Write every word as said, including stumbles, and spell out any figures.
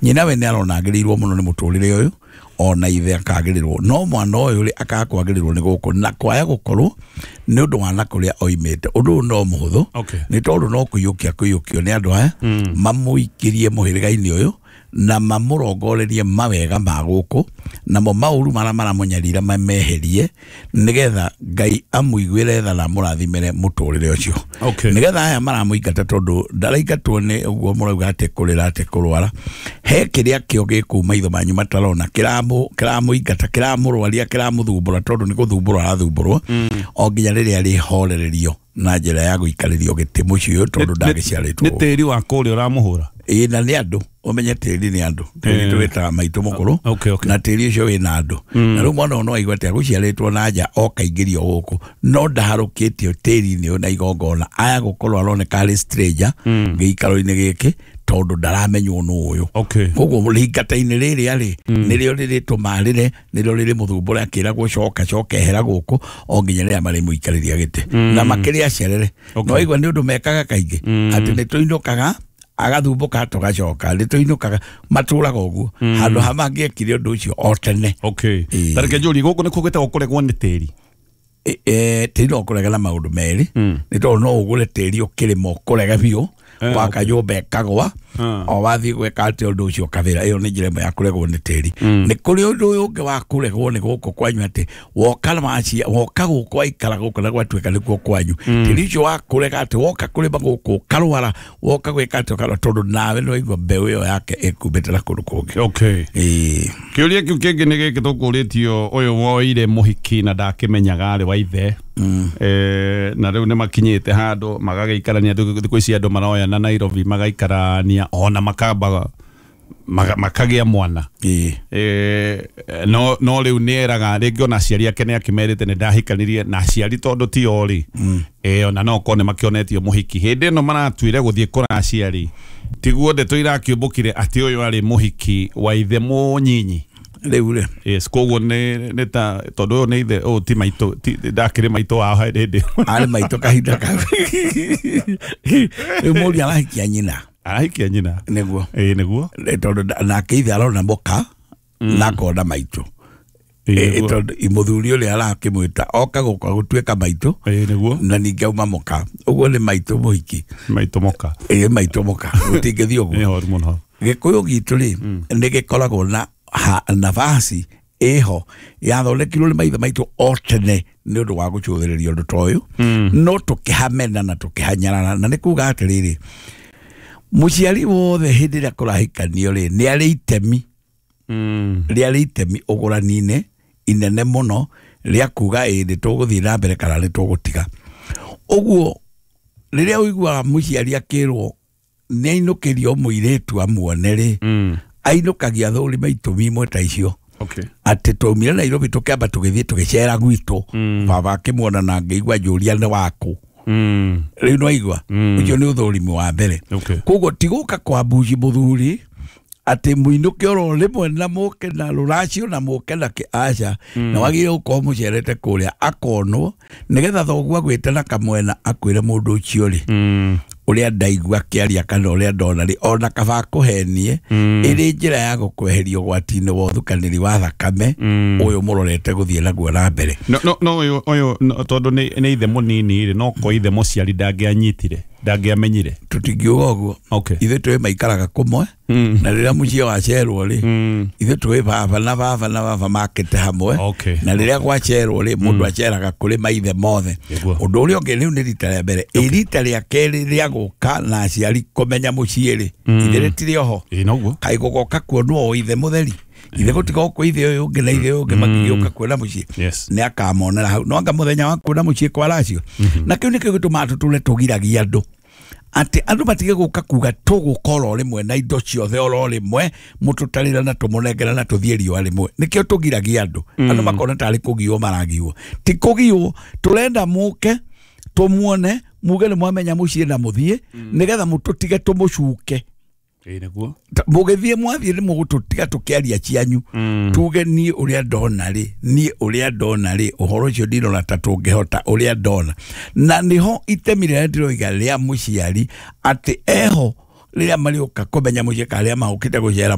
Nyina we nĩ arona agĩrĩirwo mũno nĩ mũtũrĩre ũyũ, ona ithe akagĩrĩrwo, no mwana ũyũ rĩ akaga kwagĩrĩrwo nĩ gũkũ na kwaya gũkorwo nĩ ũndũ wa na kũrĩa oimĩte. Ũndũ ũyũ no mũhũthũ, Okay. nĩ tondũ no kũiyũkia kũiyũkio nĩ andũ aya, mamũikĩrie mũhĩrĩga-inĩ ũyũ na mamũrongorerie mawega ma gũkũ, namo maũru marĩa maramũnyarira mameherie, nĩgetha Ngai amũiguĩre tha na amũrathimĩre mũtũrĩre ũcio. Okay. Nĩgetha aya maramũingata, tondũ ndaraingatwo nĩ ũguo mũrauga atĩ kũrĩra atĩ kũrwara, he kĩrĩa kĩo gĩkũu maitho manyu matarona kĩramũ kĩramũingata, kĩramũrwaria, kĩramũthumbũra, tondũ nĩ gũthumbũrwo arathumbũrwo o nginya rĩrĩa rĩhorererio na njĩra ya gũikarĩrio gĩtĩ mũciĩ ũyũ, tondũ ndagĩciarĩtwo. Nĩ tĩri wa kũrĩa ũramũhũra. Ĩĩ, na nĩ andũ, ũmenye tĩri nĩ andũ, tĩri tũwĩtaga maitũ mũkũrũ. Okay, okay. Na tĩri ũcio wĩna andũ, na rĩu mwana ũyũ no aigue atĩ agũciarĩtwo na nja okaingĩrio gũkũ, no ndaharũkĩtio tĩri-inĩ ũyũ na igongona, aya gũkorwo aroneka arĩ stranger gĩikaro-inĩ gĩkĩ, tondũ ndaramenywo nũ ũyũ. Okay. Koguo rĩingata-inĩ rĩrĩa rĩ nĩrĩo rĩrĩtũma rĩre, nĩrĩo rĩrĩmũthumbũra akĩragwo coka coka ehera gũkũ o nginya rĩrĩa marĩmũikarĩria gĩtĩ na makĩrĩa acerere. Okay. No waigua nĩ ũndũ mekaga kaingĩ atĩ nĩ tũinũkaga, agathumbuka, tũgacoka, nĩ tũinũkaga, matũraga ũguo handũ ha mangĩekire ũndũ ũcio o tene. Okay. Ĩĩ. Tareke njũrie, gũkũ nĩ kũgĩtagwo kũregwo nĩ tĩri? E- e, tĩri no ũkũrega na maũndũ merĩ, nĩ tondũ no ũgũre tĩri ũkĩrĩma ũkũrege biũ, Eh, waka nyũmba ĩkagwa, Ah. o wathiĩ gwĩka atĩ ũndũ ũcio ũkabĩra. Ĩyo nĩ njĩra ĩmwe ya kũregwo nĩ tĩri. Nĩ kũrĩ ũndũ ũyũ ũngĩ wa kũregwo nĩ gũkũ kwanyu, atĩ woka wacia woka gũkũ waikara gũkũ na gwatuĩka nĩkuo kwanyu, tĩri ũcio wa kũrega atĩ woka kũrĩma gũkũ ũkarwara, woka gwĩka atĩ ũkarwara, tondũ nawe nĩ waigua mbeũ ĩyo yake ĩkumbĩte na kũndũ kũngĩ. Okay. Ĩĩ. Kĩũria kĩu kĩngĩ nĩ gĩkĩ tũkũrĩtio, ũyũ woire mũhiki na ndakĩmenyaga arĩ wa ithe, eh, na rĩu nĩ makinyĩte handũ magagĩikarania. Thikũ ici andũ maroyana Nairobi magaikarania ona makamba maga- makagĩa mwana. Ĩĩ. Eh, no no rĩu nĩ eraga rĩngĩ ona aciari ake nĩ akĩmerĩte nĩ ndahikanirie na aciari, tondũ ti o rĩ, eh, ona no korwo nĩ makĩonetio mũhiki hĩndĩ ĩno maratuire gũthiĩ kũracia rĩ, tiguo ndeto irakĩũmbũkire atĩ ũyũ arĩ mũhiki wa ithe mũnyinyi. Rĩu rĩ, Yes, koguo nĩ nĩ ta tondũ ũyũ nĩ ithe, ũyũ ti maitũ, ti ndakĩrĩ maitũ wao hĩndĩ ĩyo. Arĩ maitũ kahinda kau. Rĩu mũriũ arahikia nyina. Arahikia nyina. Nĩguo. Ĩĩ, nĩguo. Nĩ tondũ nda- nake ithe arona mũka na akona maitũ. Ĩĩ, Ĩ- nĩguo. Tondũ mũthuri ũrĩa arakĩmwĩta oka gũka gũtuĩka maitũ, Ĩĩ, nĩguo. na ningĩ auma mũka, ũguo nĩ maitũ mũhiki. Maitũ mũka. Ĩ, maitũ mũka, gũtingĩthiĩ ũguo. Nĩ horu mũno. Gĩkũyũ gitũ rĩ nĩ gĩkoragwo na ha- nafasi ĩho yathondekirwo nĩ maithe maitũ o tene nĩ ũndũ wa gũcũthĩrĩria ũndũ ta ũyũ, no tũkĩhamena na tũkĩhanyarara. Na nĩ kuga atĩrĩrĩ, mũciari wothe hĩndĩ ĩrĩa kũrahikanio rĩ nĩ arĩ itemi, Mm. rĩarĩ itemi ũgũrani-inĩ inene mũno rĩa kuga ĩ nĩ tũgũthiĩ na mbere kana nĩ tũgũtiga. Ũguo rĩrĩa ũiguaga mũciari akĩrwo nĩ ainũkĩrio mũirĩtu amuone rĩ, Mm. ainũkagia thũrima itũmi imwe ta icio, Okay. atĩ twaumire Nairobi tũkĩamba tũgĩthiĩ tũgĩcera gwitũ, baba akĩmuona na ngĩigua njũria nĩ waku. Mm. Rĩu nĩwaigua ũcio nĩ ũthũrimi wa mbere. Okay. Koguo ti gũka kwa mbuci mũthuri atĩ mũinũke oro rĩmwe na mũke na rũracio na mũke na kĩ, aca, na wagĩrĩire gũkorwo mũcerete kũrĩa akonwo, nĩgetha thoguo agwĩte na kamwena akwĩre mũndũ ũcio rĩ, Mm. ũrĩa ndaigua akĩaria kana ũrĩa ndona rĩ, ona kaba akũhenie ĩrĩ njĩra ya gũkweheria ũgwati-inĩ wa ũthukanĩri wa thakame ũyũ mũrorete gũthiĩ naguo na mbere. No no no ũyũ ũyũ no, tondũ nĩ nĩ ithe mũnini rĩ, no ko ithe mũciari ndangĩanyitire, ndangĩamenyire. Tũtingiuga ũguo. Okay. Ithuĩ twĩ maikaraga kũmwe, na rĩrĩa mũciĩ wacerwo rĩ, ithuĩ twĩ baba na baba na baba makĩte hamwe. Okay. Na rĩrĩa gwacerwo rĩ, mũndũ aceraga kũrĩ maithe mothe. Nĩguo. Ũndũ ũrĩa ũngĩ, rĩu nĩ rita rĩa mbere, ĩ rita rĩa kerĩ rĩa gũka na aciari kũmenya mũciĩ rĩ, ithe rĩtirĩ oho. Ĩĩ, noguo. Kaĩ gũgoka kuonwo o ithe mũtheri, ithe gũtiga gũkũ, ithe ũyũ ũngĩ na ithe ũyũ ũngĩ makĩgĩũka kuona mũciĩ, Yes. nĩ akamonera hau, no anga mũthenya wa kuona mũciĩ kwaracio. Na kĩu nĩkĩo gĩtũmaga tũtũre tũgiragia andũ atĩ andũ matige gũka kuga tũgũka oro rĩmwe na indo ciothe oro rĩmwe, mũtũtarĩra na tũmũnengera na tũthiĩ riũa rĩmwe. Nĩkĩo tũgiragia andũ. Andũ makona tarĩ kũgiwo maragiwo. Ti kũgiwo, tũrenda mũke tũmuone, muge nĩ mwamenya mũciĩ na mũthiĩ, nĩgetha mũtũtige tũmũcuke. Ĩĩ, nĩguo. Ta- mũgĩthiĩ, mwathiĩ nĩ mũgũtũtiga tũkĩaria cianyu, tuge niĩ ũrĩa ndona rĩ, niĩ ũrĩa ndona rĩ, ũhoro ũcio ndirona ta tũngĩhota ũrĩa ndona. Na nĩho itemi rĩrĩa ndĩroiga rĩa mũciari atĩ eho rĩrĩa marĩũka kũmenya mũciĩ kana rĩrĩa maũkĩte gũcera.